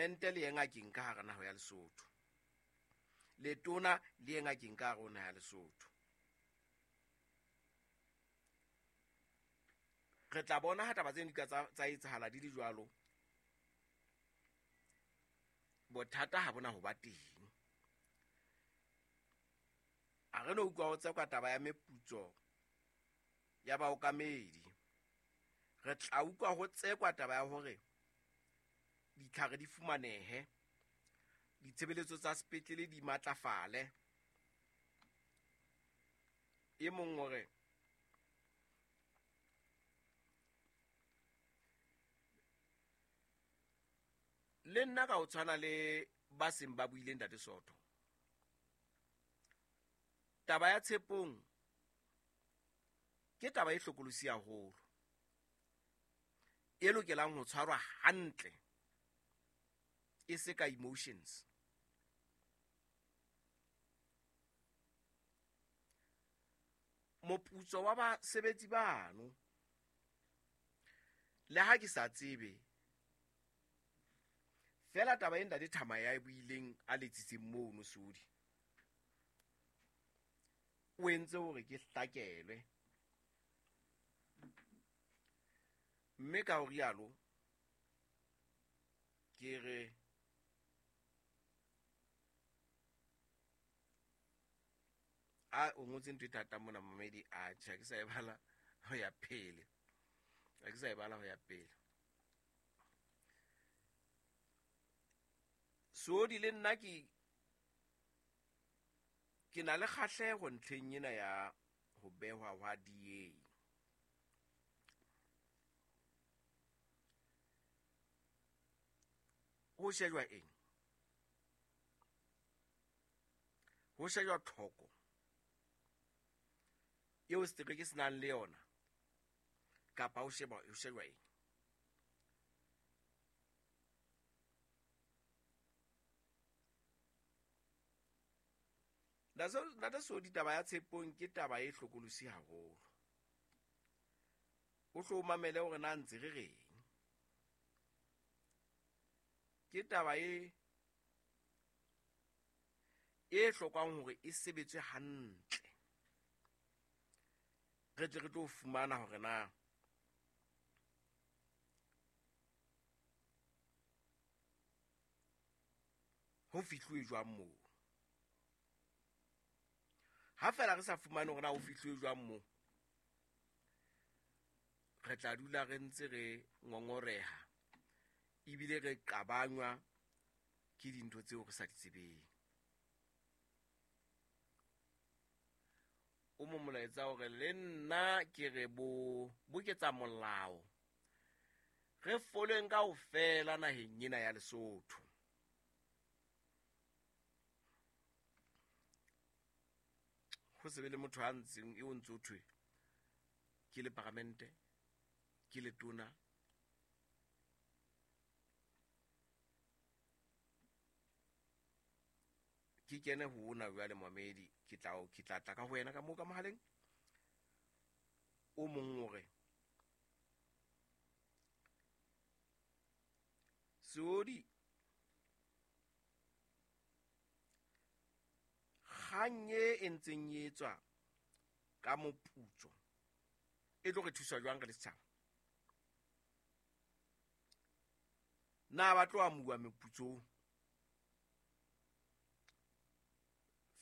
Paramente le ye ngakeng ka hara naha ya Lesotho, letona le ye ngakeng ka hare ho naha ya Lesotho. Re tla bona ha taba tseno di ka tsa etsahala di le jwalo, bothata ha bona ho ba teng. A re no utlwa ho tsekwa taba ya meputso ya baokamedi. Re tla utlwa ho tsekwa taba ya hore ditlhare di fumanehe, ditshebeletso tsa sepetlele di matlafale. E mong o re le nna ka ho tshwana le ba seng ba buile Ntate Soto, taba ya Tshepong ke taba e hlokolosi haholo, e lokelang ho tshwarwa hantle, e se ka emotions. Moputso wa basebetsi bano, le ha ke sa tsebe fela taba e Ntate Thama ya e buileng a letsitseng mono Sodi, o entse hore ke hlakelwe, mme ka ho rialo ke re a o ngotse ntho e thata mona momedi, a tjhe, ha ke sa e bala ho ya pele, ha ke sa e bala ho ya pele. Sodi le nna ke na le kgahleho ntlheng ena ya ho behwa hwa DA. Ho shejwa eng? Ho shejwa tlhoko eo setereke se nang le yona, kapa ho shejwa eng? Ntate Sodi, taba ya Tshepong ke taba e hlokolosi haholo. O hlo o mamele hore na ntse re reng. Ke taba e hlokang hore e sebetswe hantle, re tle re tlo fumana hore na ho fihluwe jwang moo. Ha fela re sa fumane hore na ho fihluwe jwang moo, re tla dula re ntse re ngongoreha ebile re qabanywa ke dintho tseo re sa di tsebeng. O mo molaetsa hore le nna ke re bo boketsa molao, re foleng kaofela naheng ena ya Lesotho. Ho se be le motho a ntseng eo ntse o thwe ke le paramente, ke letona, ke kene ho ona jwale momedi, ke tla tla ka ho wena ka moo ka mohaleng. O mong o re Seodi, kgang e ntseng e etswa ka moputso e tlo re thusa jwang re le setjhaba? Na ba tlo amuwa meputso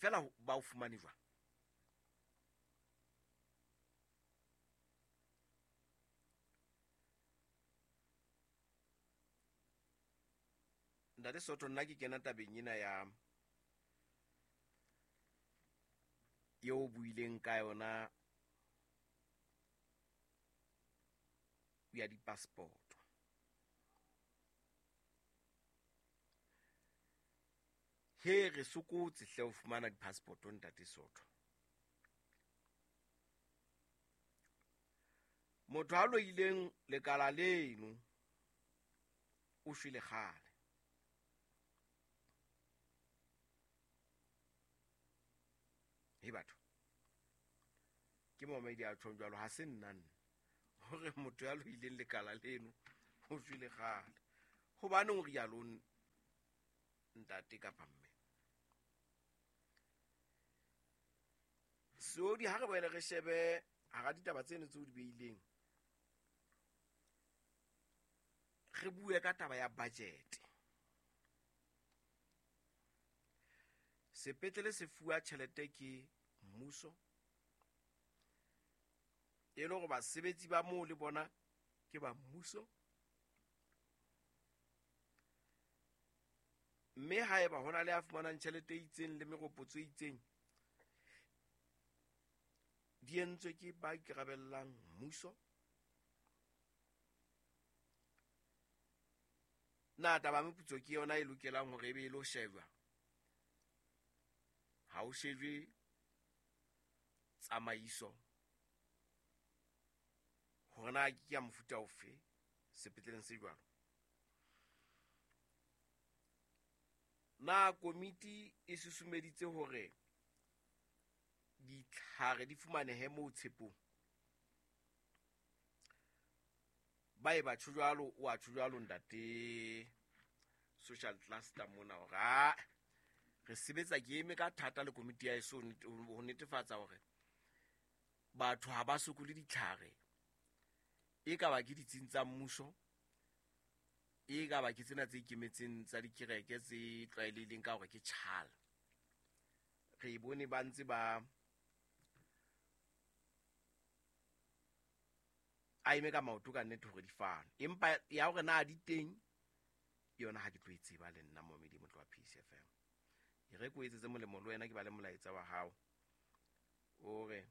fela ba o fumane jwang? Ntate Soto, nna ke kena tabeng ena ya eo buileng ka yona ya di-passport. He re sokotse hle ho fumana di-passport, Ntate Soto. Motho a loileng lekala leno o shwele kgale. He batho, ke momedi a tjhong jwalo, ha se nna nna hore motho ya loileng lekala leno o shwele kgale. Hobaneng o rialo Ntate kapa mme Seodi, ha re boele re shebe hara ditaba tseno tseo di beileng, re bue ka taba ya budget. Sepetlele se fuwa tjhelete ke mmuso, e le hore basebetsi ba moo le bona ke ba mmuso, mme haeba ho na le a fumanang tjhelete e itseng le meropotso e itseng, di entswe ke ba ikarabellang mmuso. Na taba ya meputso ke yona e lokelang hore e be e lo shejwa? Ha o shejwe tsamaiso hore na ke ya mofuta ofe sepetleleng se jwalo. Na komiti e susumeditse hore ditlhare di fumanehe moo Tshepong? Ba e batho jwalo, o a tjho jwalo ntate social cluster mona hore a re sebetsa ke eme ka thata le komiti ya eso ho netefatsa hore batho ha ba sokole ditlhare, e ka ba ke ditsing tsa mmuso, e ka ba ke tsena tse ikemetseng tsa dikereke tse tlwaelehileng ka hore ke tjhala. Re e bone ba ntse ba a eme ka maoto ka nnete hore di fane, empa ya hore na di teng yona ha ke tlo e tseba le nna momedi motlo wa Peace FM. E re ko etsetse molemo le wena, ke ba le molaetsa wa hao o re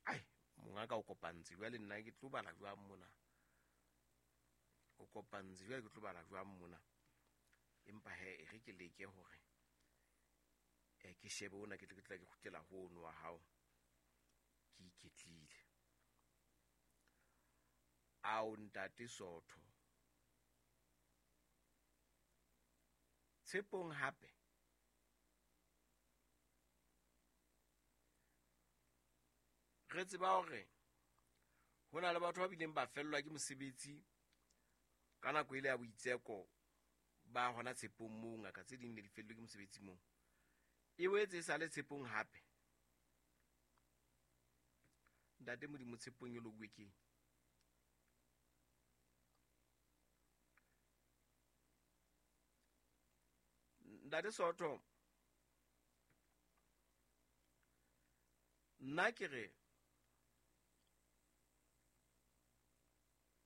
ai monga ka o kopantse jwale, nna ke tlo bala jwang mona, o kopantse jwale ke tlo bala jwang mona, empa he e re ke leke hore ke shebe ona, ke tle ke tla ke kgutlela ho ono wa hao ke iketlile. Ao ntate Sotho Tshepong hape re tseba hore ho na le batho ba bileng ba fellwa ke mosebetsi ka nako ile ya boitseko ba hona Tshepong moo, ngaka tse ding ne di fellwe ke mosebetsi moo, e boetse e sale Tshepong hape. Ntate Modimo, Tshepong e lokuwe keng? Ntate Sotho, nna ke re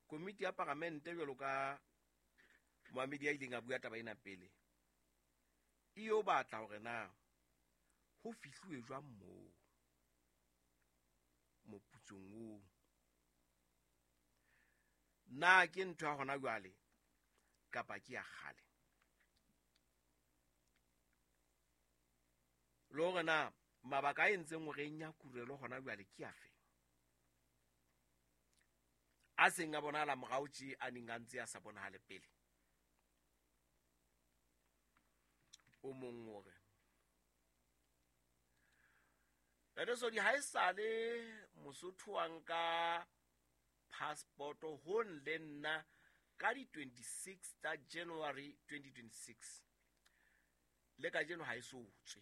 komiti ya paramente jwalo ka moamedi ya ileng a bua taba ena pele, e yo batla hore na ho fihluwe jwang moo moputsong oo. Na ke ntho ya hona jwale kapa ke ya kgale? Le hore na mabaka a entseng hore e nyakurelwe hona jwale ke afe, a seng a bonahala morao tje, a neng a ntse a sa bonahale pele. O mong o re Ntate Sodi, ha e sale Mosotho wa nka passport-o ho le nna ka di 26 tsa January 2026, le kajeno ha e so tswe.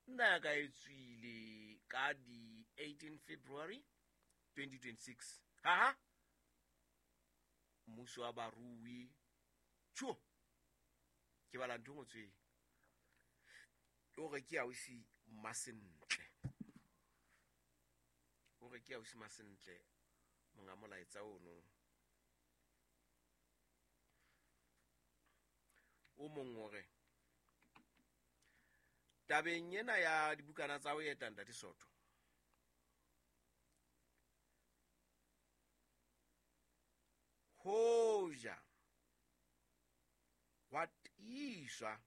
Nna ya ka e tswile ka di 18 February 2026. Ha mmuso wa barui tjho, ke bala ntho e ngotsweng o re ke ausi Masentle, o re ke ausi Masentle monga molaetsa ono. O mong o re tabeng ena ya dibukana tsa ho eta ntate Sotho, hoja wa tiiswa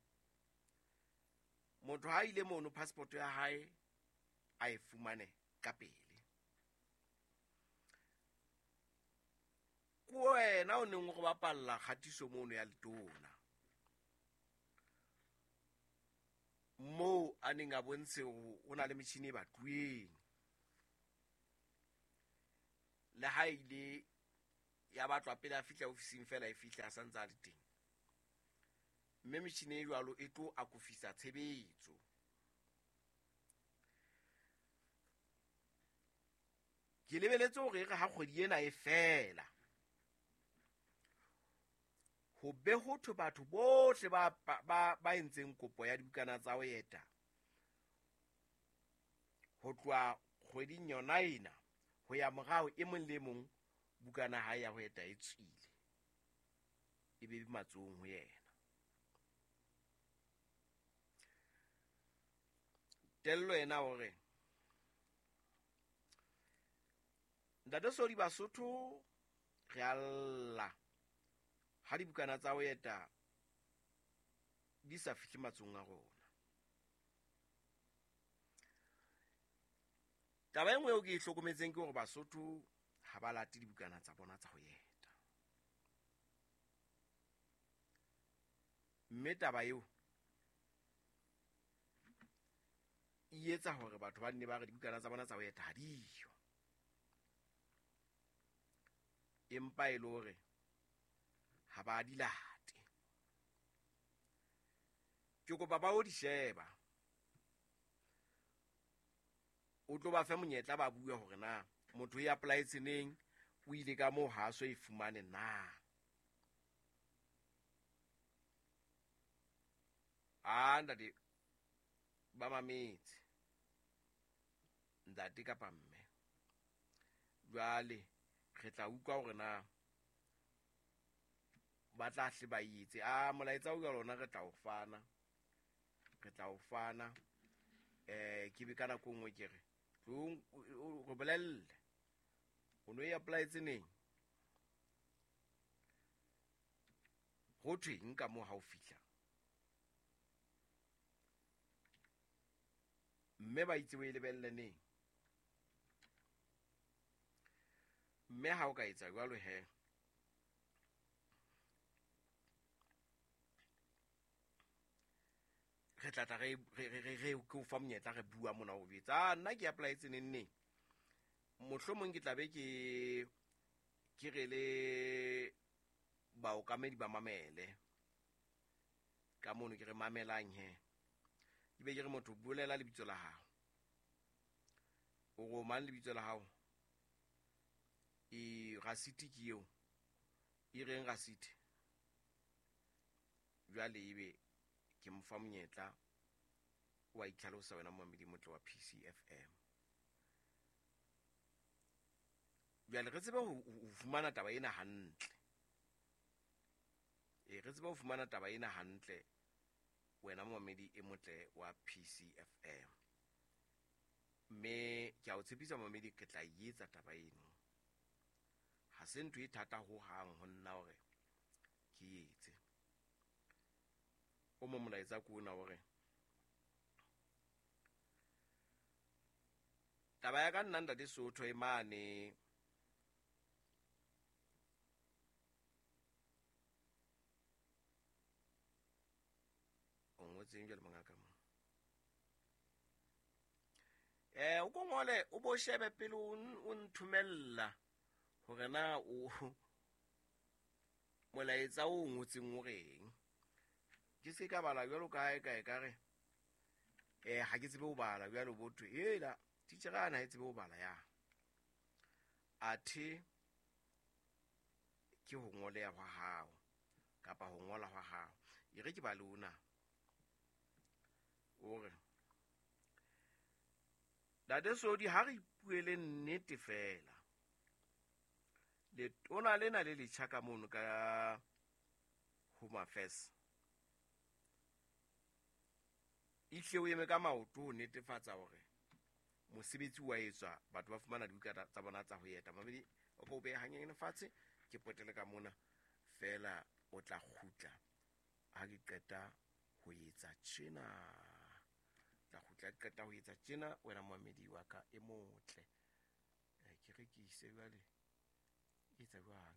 motho ha ile mono passport ya hae a e fumane ka pele. Ke wena o neng o re bapalla kgatiso mono ya letona, moo a neng a bontshe ho na le metjhini e batluweng, le ha ile ya batlwa pele a fihla ofising fela e fihla a santse a le teng. Mme metjhini e jwalo e tlo akofisa tshebetso. Ke lebeletse hore e re ha kgwedi ena e fela, ho be ho thwe batho bohle ba entseng kopo ya dibukana tsa ho eta ho tloha kgweding yona ena ho ya morao, e mong le mong bukana hae ya ho eta e tswile, e be matsohong ho yena. Tello ena hore Ntate Sodi Basotho re a lla ha dibukana tsa ho eta di sa fihle matsohong a rona. Taba e nngwe eo ke e hlokometseng ke hore Basotho ha ba late dibukana tsa bona tsa ho eta. Mme taba eo e etsa hore batho ba nne ba re dibukana tsa bona tsa ho eta ha diyo. Empa e le hore ha ba di late. Ke kopa ba o di sheba. O tlo ba fe monyetla ba bue hore na motho e apply-etse neng, o ile ka moo ha so e fumane na. A ntate ba mametse, ntate kapa mme. Jwale re tla utlwa hore na ba tla hle ba etse. A molaetsa o ka lona re tla o fana, re tla o fana. Ke be ka nako nngwe ke re tlong o re bolelle o no e apply-etse neng, ho thweng ka moo ha o fihla. Mme ba itse o e lebelle neng. Mme ha o ka etsa jwalo he, re tla tla re ke o fa monyetla re bua mona o jwetsa, nna ke apply-etse neng neng. Mohlomong ke tla be ke re le baokamedi ba mamele ka mono, ke re mamelang he. Ke be ke re motho bolela lebitso la hao. O re o mang lebitso la hao? E rasiti ke eo. E reng rasiti? Jwale ebe ke mo fa monyetla wa itlhalosa wena momamedi motle wa PCFM. Jwale re tsebe ho fumana taba ena hantle. Re tsebe ho fumana taba ena hantle wena momamedi e motle wa PCFM. Mme ke a o tshepisa momamedi ke tla etsa taba eno. Ha se ntho e thata ho hang ho nna hore ke etse. O mo molaetsa ko ona hore taba ya ka nna ntate Sotho e mane o ngotseng jwale mongaka mo. O ko ngole o bo shebe pele o nthomella hore na o molaetsa o ngotseng o reng. Ke se ka bala jwalo ka hae ka e ka re ha ke tsebe ho bala jwalo bo thwe hela teacher ana ha e tsebe ho bala ya. Athe ke ho ngoleha hwa hao kapa ho ngola hwa hao. E re ke bale ona. O re Ntate Sodi ha re ipuele nnete fela. Letona lena le letjha ka mono ka Home Affairs ihle o eme ka maoto ho netefatsa hore mosebetsi wa etswa, batho ba fumana dibuka tsa bona tsa ho eta. Mamedi o ka o beha hanyenyane fatshe, ke potele ka mona fela o tla kgutla ha ke qeta ho etsa tjena. Tla kgutla ke qeta ho etsa tjena wena momamedi wa ka e motle. Ke re ke ise jwale. Etsa jwang.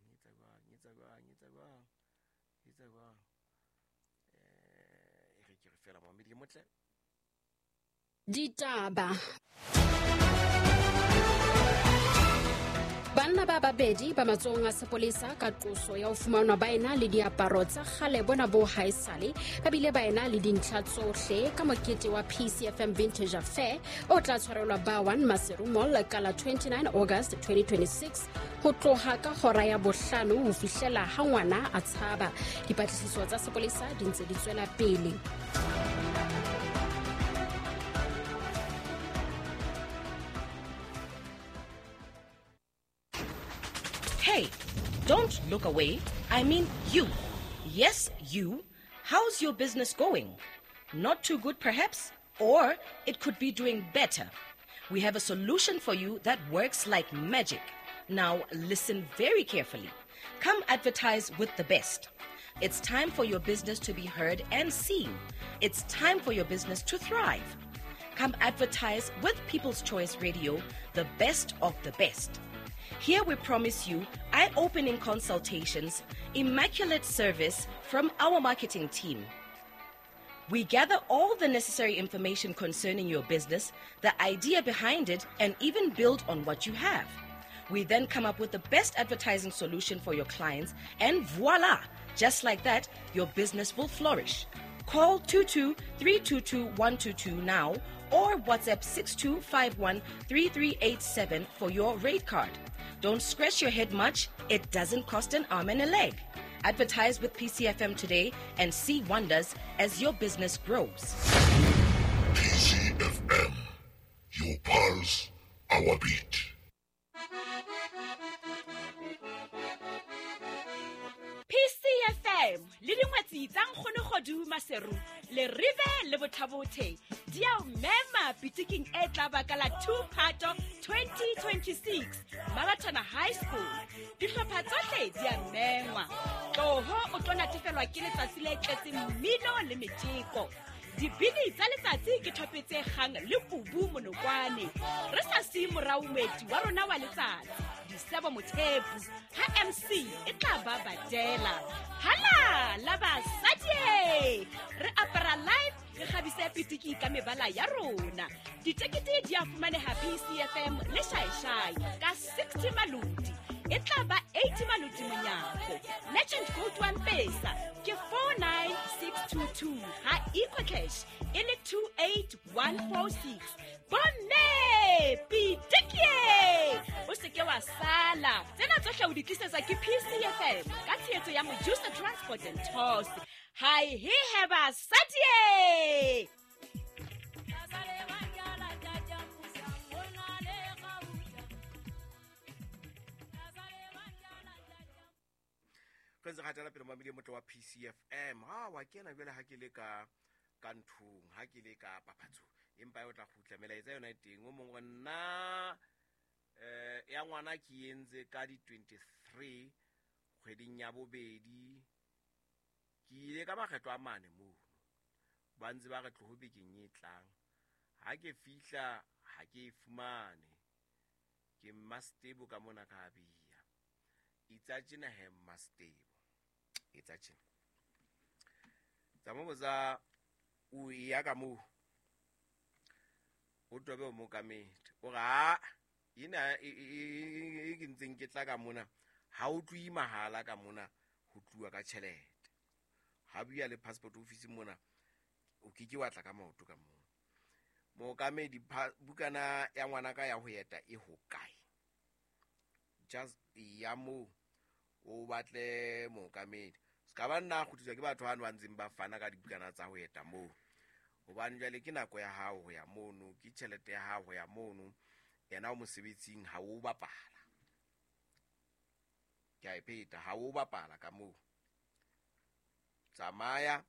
E re ke re fela momamedi e motle. Ditaba. Ba Banna ba babedi ba matsohong a sepolesa ka qoso ya ho fumanwa ba ena le diaparo tsa kgale bona bo haesale, ba bile ba ena le dintlha tsohle ka mokete wa PCFM Vintage Affair o tla tshwarelwa ba 1 Maseru Mall ka la 29 August 2026 ho tloha ka hora ya bohlano ho fihlela ha ngwana a tshaba. Dipatlisiso tsa sepolesa di ntse di tswela pele. Hey, don't look away. I mean you. Yes, you. How's your business going? Not too good, perhaps? Or it could be doing better. We have a solution for you that works like magic. Now, listen very carefully. Come advertise with the best. It's time for your business to be heard and seen. It's time for your business to thrive. Come advertise with People's Choice Radio, the best of the best. Here we promise you eye-opening consultations, immaculate service from our marketing team. We gather all the necessary information concerning your business, the idea behind it, and even build on what you have. We then come up with the best advertising solution for your clients, and voila! Just like that, your business will flourish. Call 22-322-122 now or WhatsApp 6251-3387 for your rate card. Don't scratch your head much. It doesn't cost an arm and a leg. Advertise with PCFM today and see wonders as your business grows. PCFM, your pulse, our beat. PCFM le dingwetsi tsa Nkgonogodu Maseru le Rive le Bothabothe di a o mema pitiking e tla ba ka la 2 Phato 2026 Marathon High School. Dihlopha tsohle di a mengwa. Tloho o tlo natefelwa ke letsatsi le tletseng mmino le metjeko. Dibini tsa letsatsi ke thope tse kgang le kubu monokwane. Re sa siye morao moeti wa rona wa letsatsi, Disebo Mothepu, ha MC e tla ba badela. Hala la basadi! Re apara live, re kgabise pitiki ka mebala ya rona. Ditekete di a fumaneha PCFM le Shaishai ka 60 maloti. E tla ba 80 maloti monyako. Legend Gold One Pesa ke 49622 ha EcoCash e le 28146. Bomme pitikie! O se ke wa sala. Tsena tsohle o di tlisetswa ke PCFM ka tshehetso ya Mojusa Transport and Tours. Hi he he basadi! Re ntse re hatela pele mamedi motle wa PCFM. Ha wa kena jwale ha ke le ka nthong, ha ke le ka papatsong, empa o tla kgutla melaetsa yona e teng. O mong wa nna ya ngwana ke entse ka di 23 kgweding ya bobedi, ke ile ka makgetlo a mane mono, ba ntse ba re tloho bekeng e tlang. Ha ke fihla ha ke e fumane, ke Mmastebo ka mona ka bia. Itsa tjena he Mmastebo, etsa tjena. Tsa mo botsa o ya ka moo, o tobe o mokamedi, o re a ena e ke ntseng ke tla ka mona, ha o tlohi mahala ka mona ho tluwa ka tjhelete. Ha bua le passport office mona, o ke ke wa tla ka maoto ka moo. Mookamedi, bukana ya ngwana ka ya ho eta e hokae? Just ya moo o batle mookamedi. Ska ba nna kgutliswa ke batho hano ba ntseng ba fana ka dibukana tsa ho eta moo. Hobane jwale ke nako ya hao ho ya mono, ke tjhelete ya hao ho ya mono. Yena o mosebetsing ha o bapala. Ke a e pheta, ha o bapala ka moo. Tsamaya.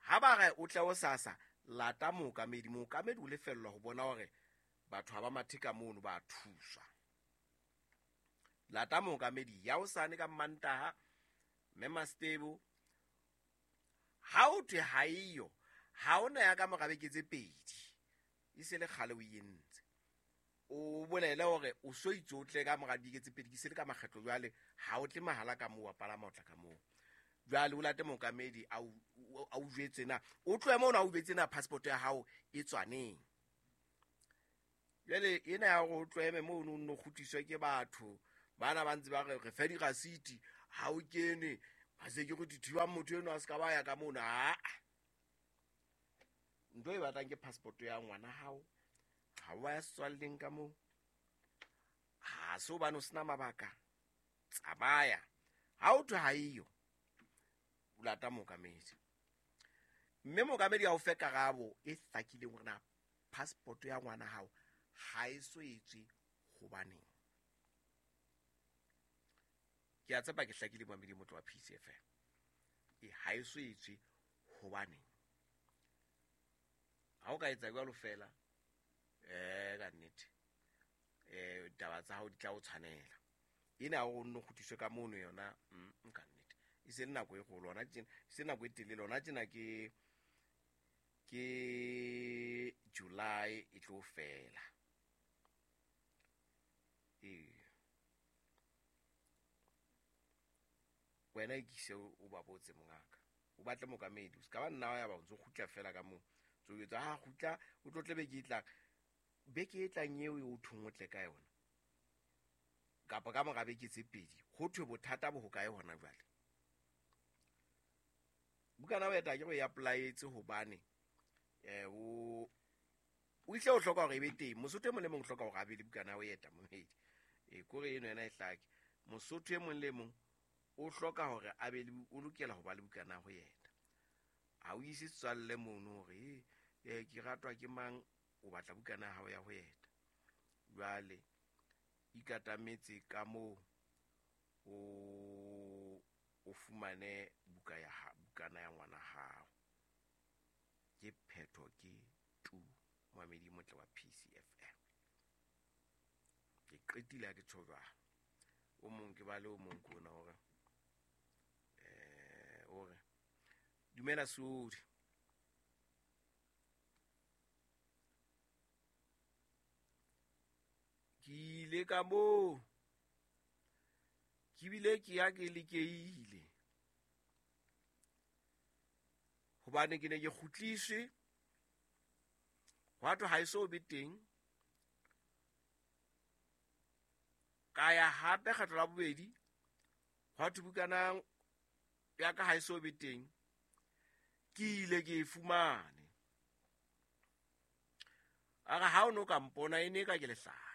Ha ba re o tle o sasa, lata mookamedi. Mookamedi o lefellwa ho bona hore batho ha ba mathe ka mono ba thuswa. Lata mookamedi ya hosane ka Mantaha, mme Mastebo. Ha o thwe ha eyo, ha ona ya ka mora beke tse pedi, e se le kgale o entse. O bolele hore o so itse o tle ka mora dibeke tse pedi, ke se le ka makgetlo jwale, ha o tle mahala ka moo, wa palama o tla ka moo. Jwale o late mookamedi a o jwetse na, o tlohe moo na o jwetse na passport ya hao e tswaneng. Jwale ena ya hore o tloheme moo o nno kgutliswe ke batho, Bana ba ntse ba re re fe dirasiti, ha o kene ba security thiba motho eno a se ka ba ya ka mona. Aa, ntho e batlang ke passport ya ngwana hao, ha wa ya setswalleng ka moo, ha se hobane o sena mabaka, tsamaya. Ha o thwe ha eyo, o lata mookamedi, mme mookamedi a o fe karabo e hlakileng hore na passport ya ngwana hao ha e so etswe hobaneng. Ke a tshepa ke hlakile momamedi motho wa PCFM. E ha e so etswe hobaneng. Ha o ka etsa jwalo fela, ka nnete, taba tsa hao di tla o tshwanela. Ena o nno kgutliswe ka mono yona, ka nnete. E se le nako e kgolo hona tjena, e se nako e telele hona tjena, ke July e tlo fela. Wena ikise o ba botse mongaka, o batle mookamedi, o se ka ba nna wa ya ba o ntso kgutla fela ka moo. Tso etsa ha kgutla, o tlo tle beke e tlang. Beke e tlang eo e o thong o tle ka yona, kapa ka mora beke tse pedi, ho thwe bothata bo hokae hona jwale. Bukana wa eta ke go e apply-etse hobane, o ihle o hloka hore e be teng. Mosotho e mong le mong o hloka hore a be le bukana ya ho eta momedi. Kore eno yona e hlake. Mosotho e mong le mong o hloka hore a be le, o lokela ho ba le bukana ya ho eta. Ha o ise setswalle mono hore, ke ratwa ke mang, o batla bukana ya hao ya ho eta. Jwale ikatametse ka moo o fumane buka ya ha, bukana ya ngwana hao. Ke phetho ke tu momamedi motle wa PCFM. Ke qetile ha ke tjho jwalo. O mong ke ba le o mong ke ona hore, hore dumela Sodi. Ke ile ka moo, ke bile ke ya ke lekeile, hobane ke ne ke kgutliswe, hwa thwe ha e so be teng. Ka ya hape kgetlo la bobedi, hwa thwe bukana ya ka ha e so be teng. Ke ile ke e fumane. A re ha o no ka mpona e ne ka ke lehlanya.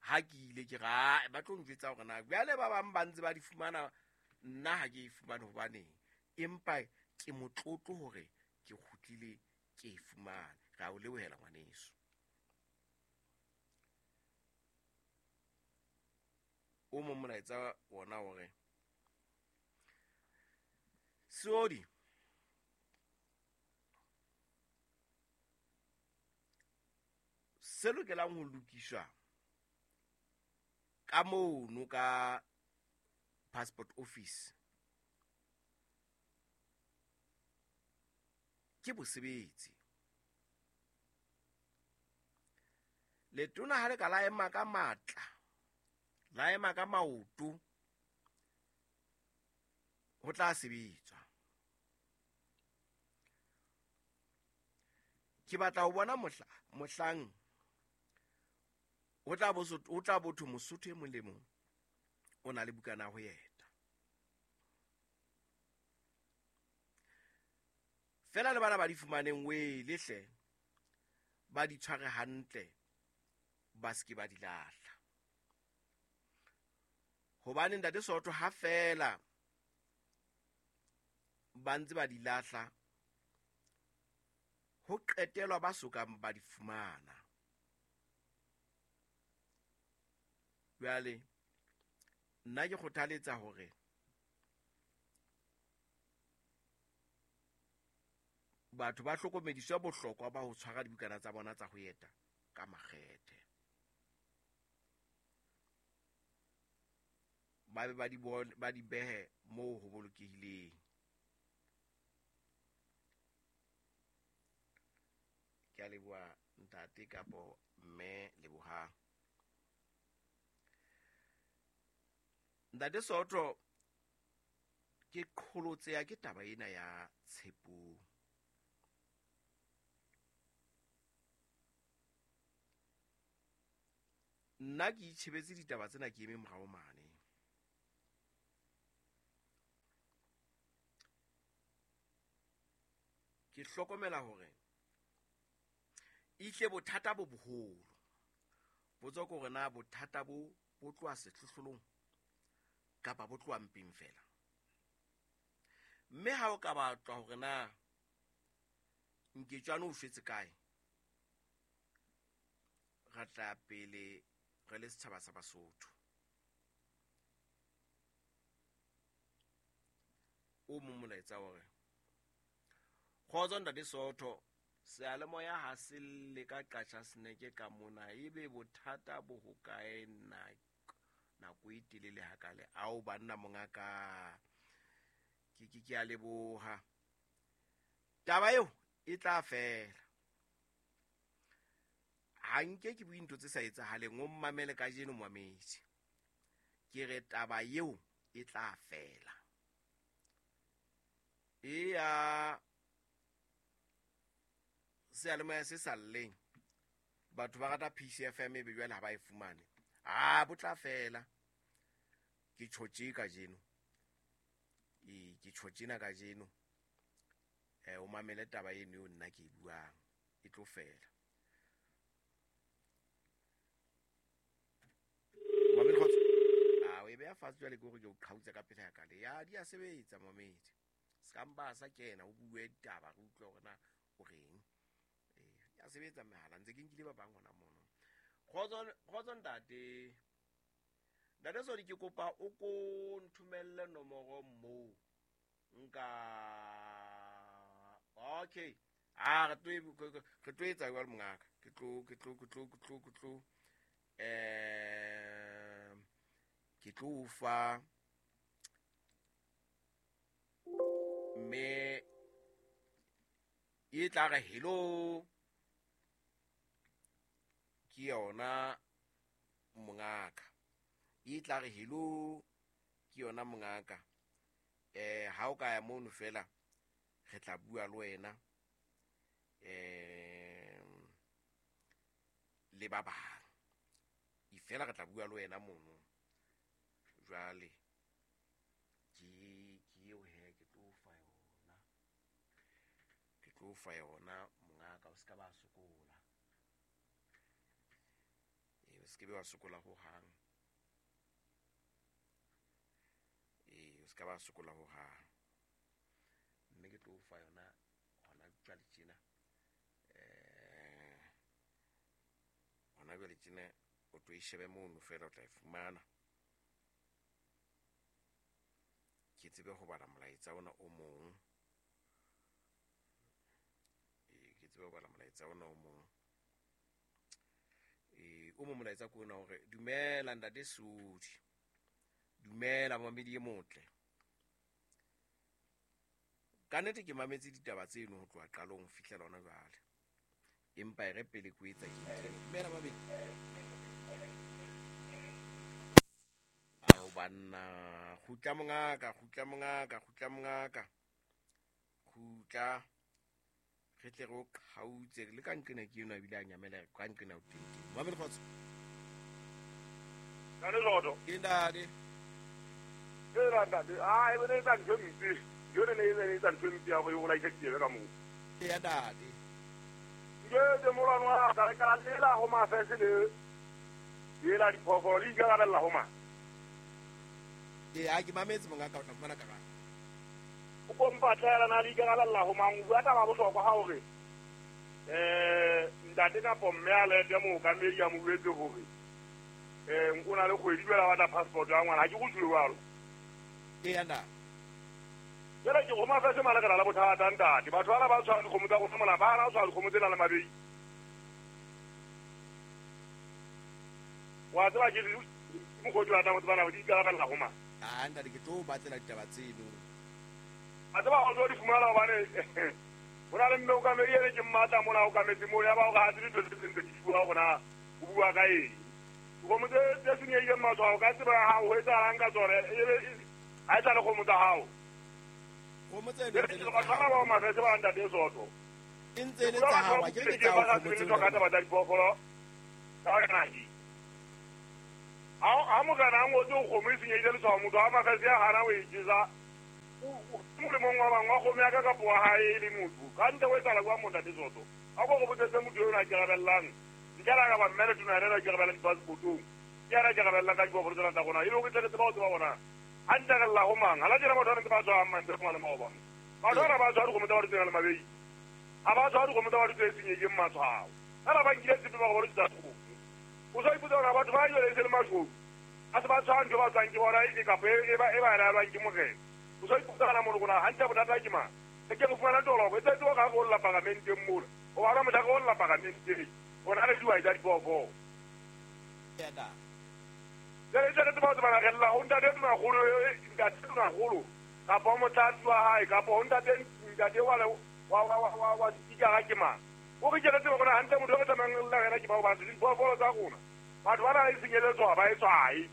Ha ke ile ke ra, ba tlo njwetsa hore na jwale ba bang ba ntse ba di fumana, nna ha ke e fumane hobaneng. Empa ke motlotlo hore ke kgutlile ke e fumane. Re a o lebohela ngwaneso. O mong molaetsa wona hore Seodi, se lokelang ho lokiswa ka mono ka passport office ke bosebetsi. Letona ha le ka la ema ka matla, la ema ka maoto, ho tla sebetswa. Ke batla ho bona mohlang ho tla bo thwe Mosotho e mong le mong o na le bukana ho eta. Fela le bana ba di fumaneng wele hle, ba di tshware hantle, ba se ke ba di lahla. Hobane ntate Soto ha fela ba ntse ba di lahla, ho qetelwa ba sokang ba di fumana. Jwale nna ke kgothaletsa hore batho ba hlokomediswe bohlokwa ba ho tshwara dibukana tsa bona tsa ho eta ka makgethe. Ba be ba di behe moo ho bolokehileng. Ke a leboha ntate kapo mme Lebohang. Ntate Soto, ke qholotseya ke taba ena ya Tshepong. Nna ke itjhebetse ditaba tsena ke eme morao mane. Ke hlokomela hore ihle bothata bo boholo. Potso ke hore na bothata bo bo tloha sehlohlolong kapa bo tloha mpeng fela. Mme ha o ka batlwa hore na Nketjwane o shwetse kae, ra tla pele re le setjhaba sa Basotho. O mong molaetsa hore kgotso ntate Sootho, seyalemoya ha se lle ka qatjha seneke ka mona, ebe bothata bo hokae nako e telele hakale? Ao banna mongaka, ke a leboha. Taba eo e tla fela. Ha nke ke bue ntho tse sa etsahaleng, o mmamele kajeno momamedi. Ke re taba eo e tla fela. Eya seyalemoya se sa lleng, batho ba rata PCFM ebe jwale ha ba e fumane. Ah, bo tla fela. Ke tjho tje kajeno. Ee, ke tjho tjena kajeno. O mamele taba eno eo nna ke e buang, e tlo fela. Mamedi kgotso. Ah, o e beha fatshe jwale ke hore ke o qhautse ka pele ya ka le. Ya, di a sebetsa mamedi. Se ka mpa sa kena o bue ditaba re utlwe hore na o reng. Ya sebetsa mehala ntse ke nkile ba bang hona mono. Kgotso ntate. Ntate Sodi, ke kopa o ko nthomelle nomoro moo nka. Okay. Ah, re tlo etsa jwalo mongaka. Ke tlo ke tlo fa mme e tla re hello ke yona mongaka. E tla re hello ke yona mongaka. Ha o ka ya mono fela re tla bua le wena le ba bang. E fela re tla bua le wena mono. Jwale ke eo he, ke tlo fa yona. Ke tlo fa yona mongaka, o ska ba sokola. O se ke be wa sokola ho hang. O se ka ba sokola ho hang. Mme ke tlo fa yona hona jwale tjena. Hona jwale tjena o tlo e shebe mono fela o tla e fumana. Ke tsebe ho bala molaetsa ona o mong. Ke tsebe ho bala molaetsa ona o mong. O mo molaetsa ko ona hore dumela ntate Sodi. Dumela mamedi e motle. Ka nnete ke mametse ditaba tseno ho tloha qalong ho fihlela hona jwale. Empa e re pele ko etsa ke ntho. Dumela mamedi. Ao banna, kgutla mongaka, kgutla mongaka, kgutla mongaka. Kgutla. Re tle re o qhautse le ka nqena ke eno ebile a nyamela ka nqena o teng. Mamedi kgotso. Ntate Soto. Ke ntate. Ke ntate. Ah, e bone e tsa ntho e mpe. Yone ne e tsa ntho e mpe ya go e bolaisa ditsebe ka moo. Ke ya ntate. Ke molwano wa ka re ka lela ho mafese le ela diphoofolo le ikarabella ho mang. Ee, ke mametse mongaka, o tla fumana karabo. O kompatlela na le ikarabella ho mang, o bua taba bohlokwa ha hore ntate kapo mme a lete mookamedi a mo jwetse hore o na le kgwedi jwale a batla passport ya ngwana. Ha ke go tjho jwalo. Ee, ntate. Jwale ke go mafese mane re na le bothata ntate. Batho bana ba tshwara dikgomo tsa rona mona, ba hana ho tshwara dikgomo tse nang le mabei. Wa tseba ke mokgwa o ke batlang ho tseba na di ikarabella ho mang. Ah, ntate, ke tlo batlela ditaba tseno. A tseba o tlo di fumana hobane ho na le mme okamedi ene ke mmatla mona okametse moo, ya ba hore ha tsebe dintho tse seng tse di bua hore na o bua ka eng. Dikgomo tse senyehileng matshwao, ka tseba ha ho etsahalang ka tsone, ebe ha e sa le kgomo tsa hao. Kgomo tseno tse le tsa hao. Ba mafese ba ntate Soto. E ntse e le tsa hao, ke tsa hao kgomo tseno. Ka taba tsa diphoofolo ka nahi. Ha morena a ngotse ho kgomo e senyehile letshwao, motho wa mafese a hana ho e jesa. Molemong wa bang wa kgomo ya ka kapo wa hae e le motho. Ka ntle ho etsahala jwang montate Soto? A ko re botsetse motho eo a ikarabellang. Ntle le ha ka ba mme le tona yena a ikarabellang dipasepotong. Ke yena a ikarabellang ka diphoofolo tsena tsa rona. E le hore tle re tseba ho tseba hore na hantle re lla ho mang. Ha la tjena batho ba ntse ba tshwara mantswe a le maobane. Batho bana ba tshwara dikgomo tsa batho tse nang le mabei. Ha ba tshwara dikgomo tsa batho tse senyehileng matshwao. Fela ba nkile tshepe ba re ba lo tsa kgomo. O sa ipotsa hore batho ba jwale e se le mashodu. A se ba tshwara ntho ba tswang ke bona e kapa e ba e ba laelwang ke morena. O sa ipotsa hona mono hore hantle bothata ke mang. Re ke re fumana toloko e tletse hore ha re olla paramenteng mola. O bona mohla re olla paramenteng. Rona re dihwai tsa diphoofolo. Jwale e tle re tseba ho tsebana re lla ho ntate Tonakgolo, ntate Tonakgolo kapa ho motlatsi wa hae kapa ho ntate ntate wa wa wa wa wa sepikara ke mang. O re ke re tsebe hore hantle motho e re tlamehang re lla ho yena ke mang hobane diphoofolo tsa rona batho bana e senyeletswa ba e tshwae.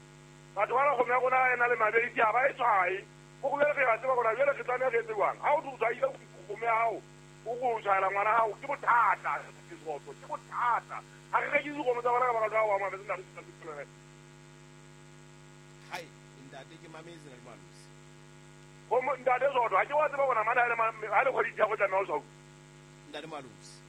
Batho bana kgomo ya rona e na le mabedi ha ba e tshwae. O re jwale re a tseba hore jwale re tlameha re etse jwang. Ha o tshwaile kgomo ya hao, o re o tshwaela ngwana hao ke bothata. Ke bothata. Ha re rekise dikgomo tsa bona ka baka la wa mabese ntate. Hai, ntate ke mametse na le Malose. Kgomo ntate Soto, ha ke wa tseba hore mana ha le kgwedi ya go tlameha ho tshwauwa. Ntate Malose.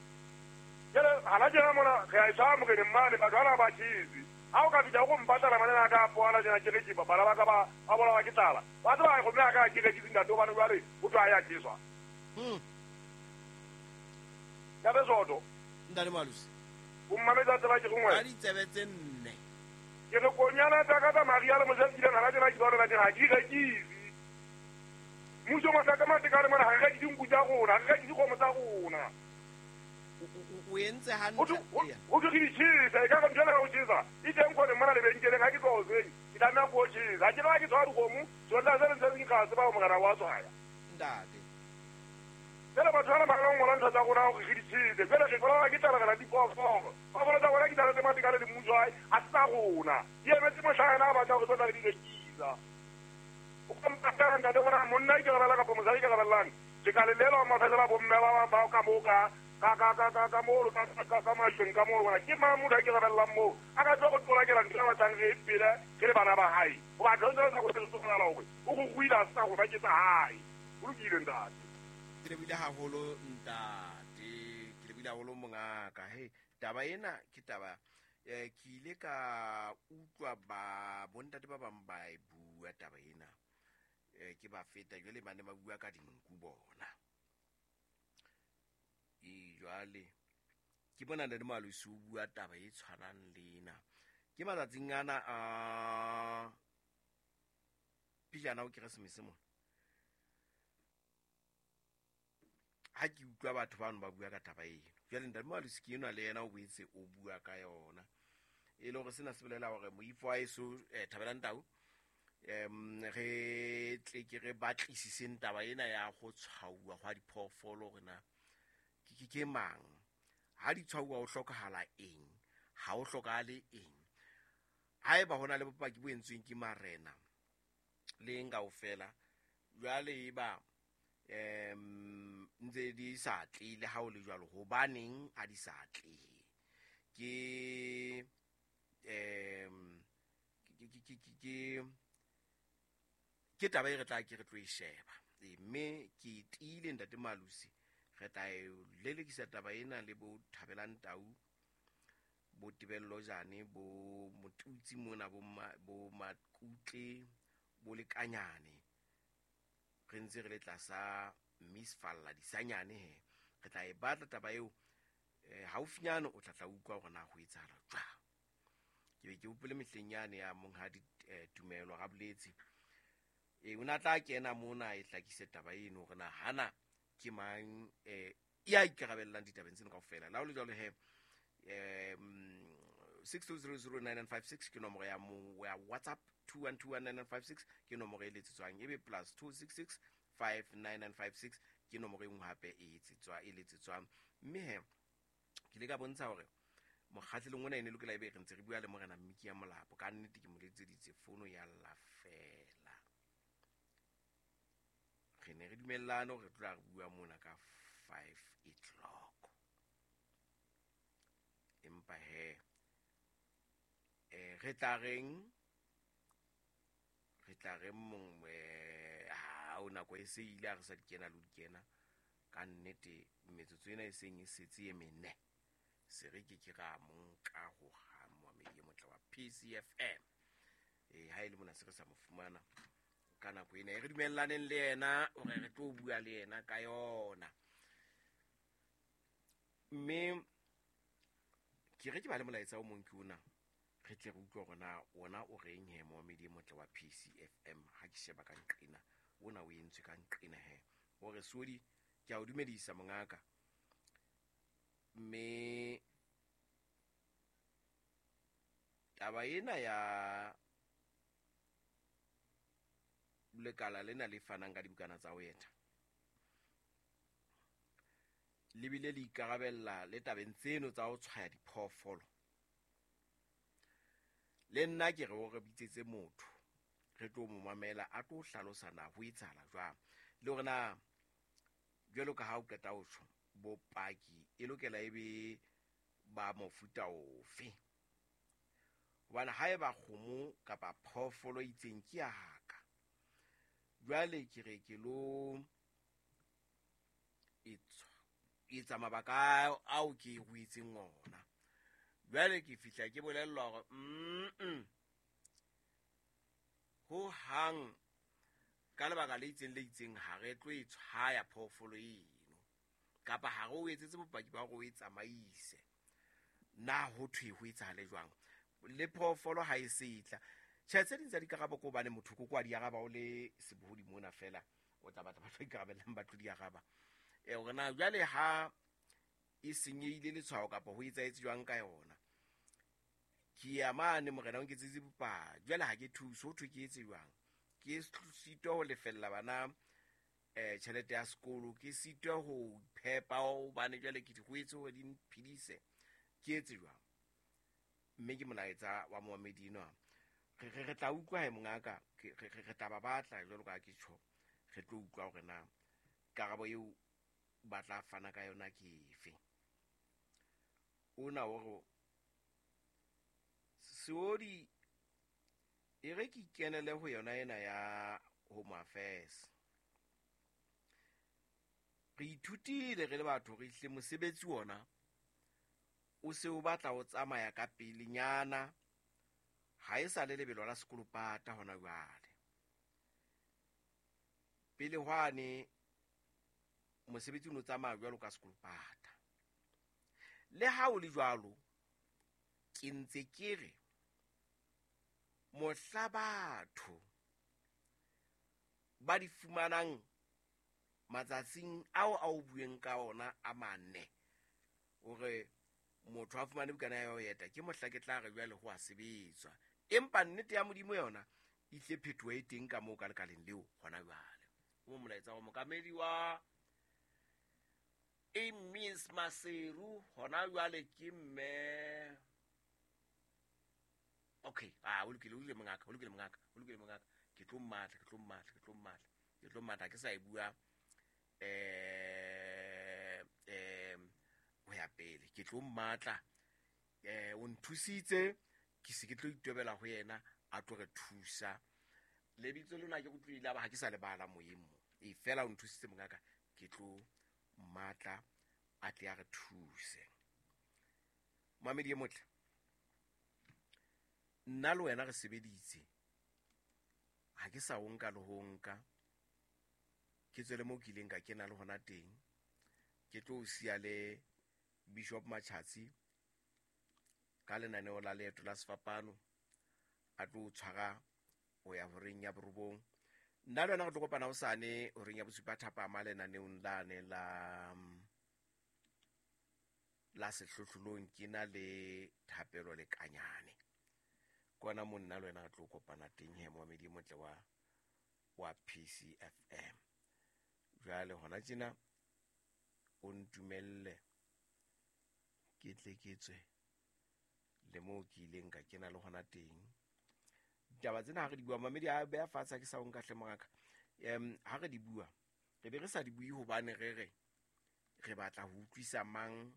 Jwale hana tjena mona re a e tshwara moreneng mane batho bana ba tjhese. Ha o ka fihla o go mpatala manene a ka a poana tjena ke re ke bana ba ka ba ba bolawa ke tlala. Wa tseba kgomo ya ka ke rekise ntate hobane jwale ho thwe ha ya tjheswa. Ntate Soto. Ntate Malose. O mmametse a tseba ke gongwe. Ka ditsebe tse nne. Ke re konyana tsa ka tsa Maria le Moshe kileng hana tjena ke bona tjena ha ke rekise. Mmuso masaka matekane mona ha re rekise dinku tsa rona, ha re rekise dikgomo tsa rona. O entse hantle. O ke di tjhesa, e ka re ntho ena ka ho tjhesa. E teng khone mona lebenkeleng ha ke tloha hoseng, ke tlameha ko tjhesa. Ha ke no ha ke tshwara dikgomo, tsona tse ntse ke ka tseba hore morena wa tshwaya. Ntate. Jwale batho bana ba ka ngola ntho tsa rona hore re di tjhese. Jwale re bolawa ke tlala re na diphoofolo. Phoofolo tsa rona ke tlala tse matekane le mmuso hae, ha se tsa rona. Di emetse mohla yena a batla hore tlo tla re di rekisa. O ka mpatla ntate hore monna ikarabella kapa mosadi ikarabellang. Ke ka le lelwa mafela bomme ba ba ka moo ka ka ka ka ka ka moo ka ka ka masheng ka moo bona ke mang motho a ikarabellang moo a ka tlo go tlola ntho a batlang re e pele re le bana ba hae. Hoba ntho tse tsa go tsoela hore o go ruile sa go ba ke tsa hae. O lokile ntate. Ke lebile haholo ntate, ke lebile haholo mongaka. He, taba ena ke taba ke ile ka utlwa ba bontate ba bang ba e bua taba ena. Ke ba feta jwale ba ne ba bua ka dinku bona. E jwale ke bona ntate Malose o bua taba e tshwanang le ena. Ke matsatsing ana a pijana ho Keresemese mona. Ha ke utlwa batho bano ba bua ka taba eno. Jwale ntate Malose ke enwa le yena o boetse o bua ka yona. E le hore sena se bolela hore moifo wa heso Thabelang Tau re tle ke re batlisiseng taba ena ya go tshwauwa gwa diphoofolo hore na ke mang. Ha di tshwauwa ho hlokahala eng, ha ho hlokahale eng. Haeba hona le bopaki bo entsweng ke marena le eng kaofela, jwale e ba ntse di sa tlile ha o le jwalo, hobaneng ha di sa tle? Ke ke taba e re tla ke re tlo e sheba. Mme ke tiile ntate Malose re tla e lelekisa taba ena le bo Thabelang Tau, bo Tebello Jane, bo Motutsi mona, bo Makutle, bo Lekanyane. Re ntse re le tlasa Miss Falla Disanyane he. Re tla e batla taba eo haufinyane o tla tla utlwa hore na ho etsahala jwang. Ke be ke hopole mehleng yane ya monghadi Tumelo Raboletse. O na tla kena mona e hlakise taba eno hore na hana ke mang ya ikarabellang ditabeng tseno kaofela. La ho le jwalo he 62009956 ke nomoro ya mo ya WhatsApp, 21219956 ke nomoro e letsetswang, ebe plus 266 59956 ke nomoro e nngwe hape e letsetswang. Mme he ke ile ka bontsha hore mokgahlelong ona e ne lokela ebe re ntse re bua le morena Mmiki ya Molapo. Ka nnete ke mo letseditse fono ya lla fela. Re ne re dumellane hore re tla re bua mona ka 5 o'clock. Empa he re tla reng Re tla re mongwe ha o nako e se ile a re sa di kena le di kena ka nnete metsotso ena e seng e setse e mene se re ke ke ra monka ho hang moamedi e motle wa PCFM. Ha e le mona se re sa mo fumana ka nako ena e re dumellaneng le yena hore re tlo bua le yena ka yona. Mme ke re ke ba le molaetsa o mong ke ona re tle re utlwe hore na ona o reng he moamedi e motle wa PCFM. Ha ke sheba ka nqena ona o entswe ka nqena he o re sodi ke a o dumedisa mongaka. Mme taba ena ya lekala lena le fanang ka dibukana tsa ho eta le bile le ikarabella le tabeng tseno tsa ho tshwaya diphoofolo. Le nna ke re o re bitsetse motho re tlo mo mamela a tlo hlalosa na ho etsahala jwang le hore na jwalo ka ha o qeta ho tjho bopaki e lokela e be ba mofuta ofe, hobane haeba kgomo kapa phoofolo e itseng ke ya ka jwale ke re ke lo etsa mabaka ao ke ruetseng ona. Jwale ke fihla ke bolellwa hore ho hang ka lebaka le itseng ha re tlo e tshwaya phoofolo eno kapa ha re o etsetse bopaki ba hore o e tsamaise. Na ho thwe ho etsahale jwang le phoofolo ha e setla? Tjhe, tse ding tsa dikarabo ke hobane motho ko kwa di araba o le sebohodi mona fela o tla batla batho ba ikarabellang ba tlo di araba. Hore na jwale ha e senyehile letshwao kapa ho etsahetse jwang ka yona. Ke ya mane morena o nketsetse bopaki jwale ha ke thuse ho thwe ke etse jwang? Ke sitwa ho lefella bana tjhelete ya sekolo, ke sitwa ho phepa hobane jwale ke di ruetse hore di mphedise, ke etse jwang? Mme ke molaetsa wa moamedi enwa. Re tla utlwa he mongaka, re tla ba batla jwalo ka ke tjho, re tlo utlwa hore na karabo eo ba tla fana ka yona ke efe. Ona o re seodi e re ke kenele ho yona ena ya Home Affairs. Re ithutile re le batho re hle mosebetsi ona o se o batla o tsamaya ka pelenyana, ha e sa le lebelo la sekolopata hona jwale. Pele hwane mosebetsi o no tsamaya jwalo ka sekolopata. Le ha o le jwalo ke ntse ke re mohla batho ba di fumanang matsatsing ao a o bueng ka ona a mane hore motho a fumane bukana ya ho eta ke mohla ke tla re jwale ho a sebetswa. Empa nnete ya Modimo yona e tle phetoho e teng ka moo ka lekaleng leo hona jwale. O molaetsa wa mokamedi wa Miss Maseru hona jwale ke mme. Okay, o lokile mongaka, o lokile mongaka. Ke tlo mmatla ke sa e bua ho ya pele. Ke tlo mmatla o nthusitse ke se ke tlo itobela ho yena a tlo re thusa. Lebitso lona ke utlwile ba ha ke sa lebala moyeng mo. E fela o nthusitse mongaka, ke tlo mmatla a tle a re thuse. Mamedi e motle, nna le wena re sebeditse ha ke sa o nka le ho nka ke tswele mo ke ileng ka kena le hona teng. Ke tlo siya le Bishop Machatsi ka lenaneo la leeto la sefapano a tlo tshwara ho ya horeng ya borobong. Nna le wena re tlo kopana hosane horeng ya bosupa thapama lenaneong lane la sehlohlolong ke na le Thapelo le Kanyane. Kona mo nna le wena re tlo kopana teng he moamedi motle wa PCFM. Jwale hona tjena o ntumelle ke tle ke tswe le moo ke ileng ka kena le hona teng. Ditaba tsena ha re di bua mamedi a beha fatshe ke sa o nka hle moraka. Ha re di bua re be re sa di bue hobane re re re batla ho utlwisa mang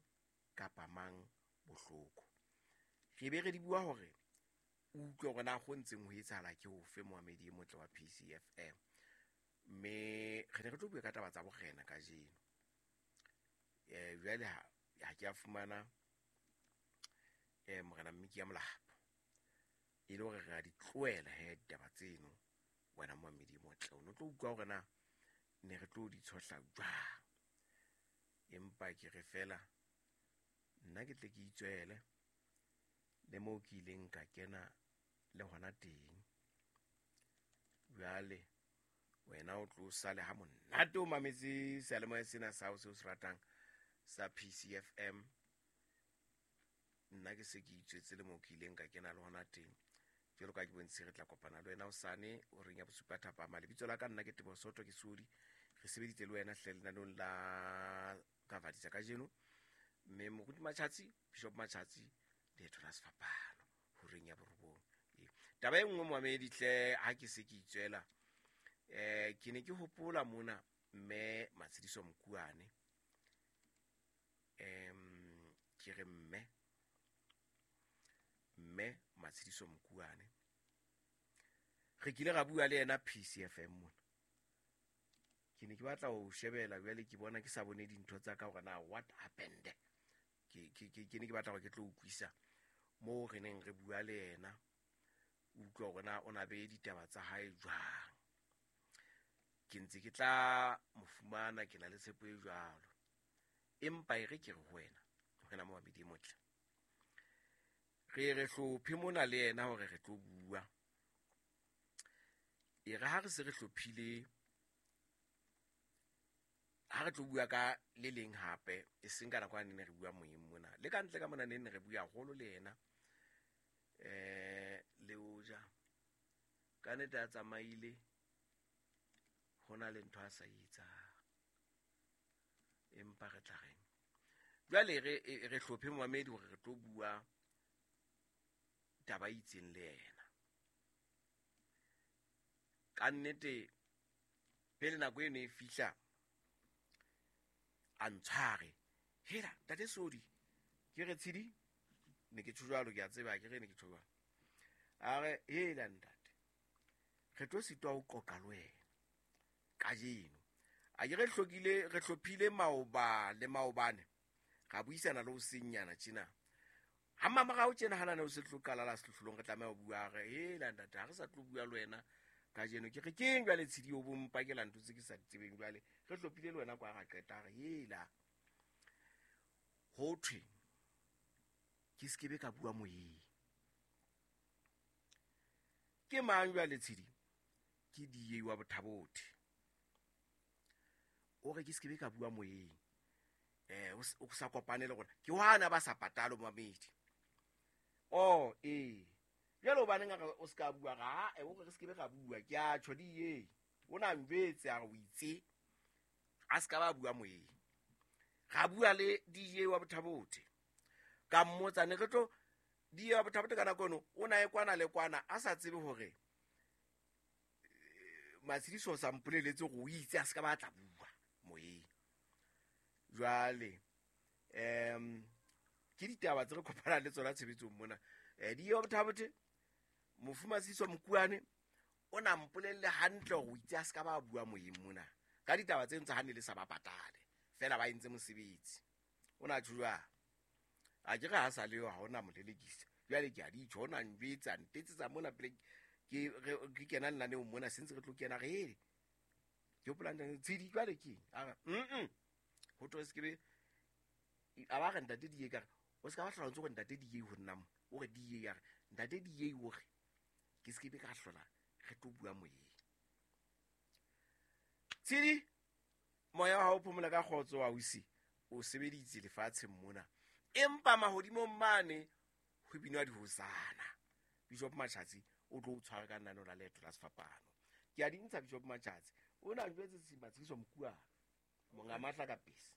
kapa mang bohloko. Re be re di bua hore Utlwe hore na go ntseng ho etsahala ke ofe moamedi e motle wa PCFM. Mme re ne re tlo bua ka taba tsa borena kajeno. Jwale ha ke a fumana morena Mmiki ya Molapo. E le hore re a di tlohela he ditaba tseno wena moamedi e motle. O no tlo utlwa hore na ne re tlo di tshohla jwang. Empa ke re fela nna ke tle ke itswele le moo ke ileng ka kena le hona teng. Jwale wena o tlo sale ha monate o mametse seyalemoya sena sa hao seo se ratang sa PCFM. Nna ke se ke itswetse le moo ke ileng ka kena le hona teng. Jwalo ka ke bontshitse re tla kopana le wena hosane horeng ya bosupa thapama. Lebitso la ka nna ke Teboho Soto ke Sodi. Re sebeditse le wena hle lenaneong la Kavadisa kajeno. Mme Moruti Matjhatsi, Bishop Matjhatsi, leeto la sefapano horeng ya borobong. Taba e nngwe moamedi hle ha ke se ke itswela, ke ne ke hopola mona mme Matshediso Mokuane. Ke re mme Matshediso Mokuane. Re kile ra bua le yena PCFM mona. Ke ne ke batla ho shebela jwale ke bona ke sa bone dintho tsa ka hore na what happened. Ke ne ke batla hore ke tlo utlwisa moo re neng re bua le yena. Utlwa hore na o na be ditaba tsa hae jwang. Ke ntse ke tla mo fumana, ke na le tshepo e jwalo. Empa e re ke re ho wena, wena moamedi e motle. Re hlophe mona le yena hore re tlo bua. E re ha re se re hlophile, ha re tlo bua ka le leng hape, e seng ka nako ya ne re bua moyeng mona. Le ka ntle ka mona ne re bua haholo le yena. Le hoja ka nnete a tsamaile, ho na le ntho a sa etsang. Empa re tla reng? Jwale re hlophe moamedi hore re tlo bua taba e itseng le yena. Ka nnete pele nako eno e fihla, a ntshware. Hela, ntate Sodi, ke re tshedi, ne ke tjho jwalo, ke a tseba, ke re ne ke tjho jwalo. A re, hela ntate, re tlo sitwa ho qoqa le wena kajeno. A ke re hlokile, re hlophile maoba le maobane, ra buisana le ho senyana tjena. Ha mamorao tjena hana ne o se tlo qala la sehlohlolong, re tlameha ho bua, re, hela ntate, ha re sa tlo bua le wena kajeno. Ke re, keng jwale tshedi o bo mpakela ntho tse ke sa di tsebeng jwale? Re hlophile le wena kwa ra qeta, re, hela. Ho thwe ke se ke be ka bua moyeng. Ke mang jwale tshedi? Ke DA wa Bothabothe. O re ke se ke be ka bua moyeng. O sa kopane le rona. Ke hwana ba sa patalo mamedi. Oh, Jwale hobaneng a re o se ka bua? Ra, o re re se ke be ra bua. Ke a tjho DA. O na njwetse a re o itse. A se ka ba bua moyeng. Ra bua le DA wa Bothabothe. Ka mmotsa ne re tlo DA wa Bothabothe ka nako eno, o na e kwana le kwana a sa tsebe hore Matshediso o sa mpoleletse hore o itse a se ka ba tla bua moyeng. Jwale ke ditaba tse re kopanang le tsona tshebetsong mona. DA wa Bothabothe, mofu Matshediso Mokuane o na mpolelle hantle hore o itse a se ka ba bua moyeng mona. Ka ditaba tse ntse ha ne le sa ba patale, fela ba entse mosebetsi. O na tjho jwang? A ke re ha sa le yo, ha hona molelekisa. Jwale ke a di tjho, o na njwetsa, ntetsetsa mona pele ke kena lenaneong mona, se ntse re tlo kena re ele. Ke hopola ntate Tshedi jwale ke eng? A re, Ho thwe se ke be, a ba re ntate DA ka re, o se ka ba hlola o ntse o re ntate DA ho nna mo. O re DA a re, ntate DA o re, ke se ke be ka hlola re tlo bua moyeng. Tshedi, moya wa hao o phomola ka kgotso wa ausi, o sebeditse lefatsheng mona. Empa mahodimong mane ho binwa dihosana. Bishop Matjhatsi o tlo o tshwara ka lenaneo la leeto la sefapano. Ke a di ntsha Bishop Matjhatsi. O na jwetse Matshediso Mokuane, monga matla ka pese.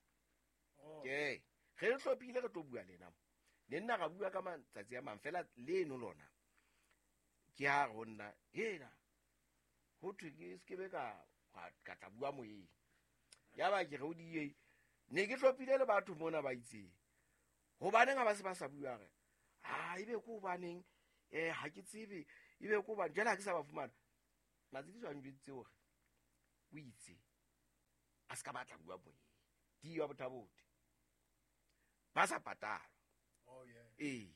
Ke re hlophile re tlo bua le yena mo. Ne nna ra bua ka matsatsi a mang fela leno lona. Ke ha re ho nna, hela, ho thwe ke se ke be ka tla bua moyeng. Yaba ke re o DA, ne ke hlophile le batho mona ba itseng. Hobaneng ha ba se ba sa bua re? Ha ebe ke hobaneng Ha ke tsebe ebe ko bane jwale ha ke sa ba fumana. Matsediso a njweditse hore o itse a se ka batla bua moyeng. Di wa Botha-Bothe ba sa patalwa. Ee,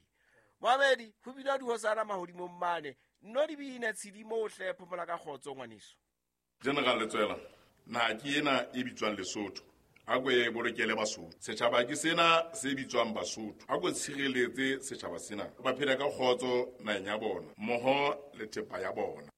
moamedi ho bina dihosana mahodimong mane nno di bine tshedimo o hle phomola ka kgotso ngwaneso. General Letsoela, naha ke ena e bitswang Lesotho. A ko e bolokele Basotho. Setjhaba ke sena se bitswang Basotho. A ko tshireletse setjhaba sena. Ba phele ka kgotso naheng ya bona, mmoho le thepa ya bona.